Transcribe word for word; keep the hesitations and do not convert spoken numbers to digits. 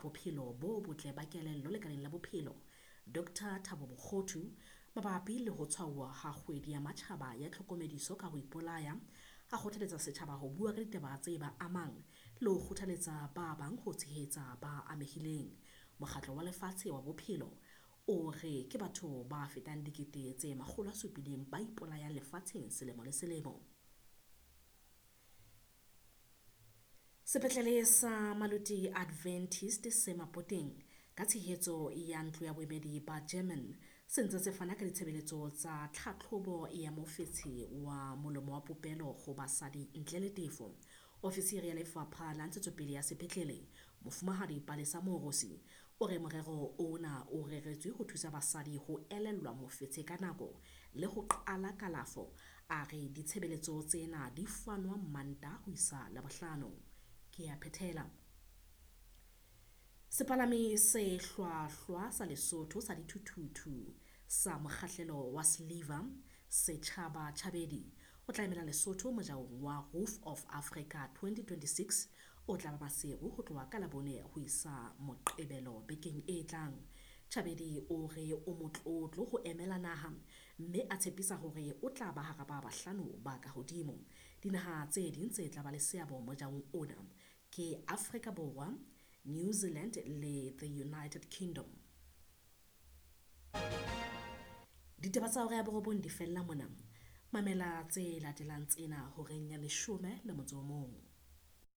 bophelo bo botle ba kelello lekaleng la bophelo, Doctor Thabo Mokgothu, mabapi le ho tshwauwa ha kgwedi ya matjhaba ya tlhokomediso ka ho ipolaya, a kgothaletsa setjhaba ho bua ka ditaba tse ba amang le ho kgothaletsa ba bang ho tshehetsa ba amehileng. Mokgatlo wa Lefatshe wa Bophelo o re ke batho ba fetang dikete tse makgolo a supileng ba ipolayang lefatsheng selemo le selemo. Sepetlele sa Maluti Adventist se Mapoteng ka tshehetso ya ntlo ya boemedi ba German se ntse se fana ka ditshebeletso tsa tlhatlhobo ya mofetshe wa molomo wa popelo ho basadi ntle le tefo. Ofisiri ya Lefapha la Ntshetsopele ya Sepetlele, Mofumahadi Palesa Moorosi, o re morero ona o reretswe ho thusa basadi ho elellwa mofetshe ka nako le ho qala kalafo. A re ditshebeletso tsena di fanwa Mantaha ho isa Labohlano. Ke a phethela. Sepalami se hlwahlwa sa Lesotho sa dithuthuthu sa mokgahlelo wa Sliver, Setjhaba Tjhabedi, o tla emela Lesotho mojaong wa Roof of Africa twenty twenty-six o tla ba Maseru ho tloha ka Labone ho isa Moqebelo bekeng e tlang. Tjhabedi o re o motlotlo ho emela naha mme a tshepisa hore o tla ba hara ba bahlano ba ka hodimo. Dinaha tse ding tse tla ba le seabo mojaong ona ke Afrika Borwa, New Zealand le the United Kingdom. Ditaba tsa hora ya borobong di fella mona. Mamela tse latelang tsena horeng ya leshome le motso o mong.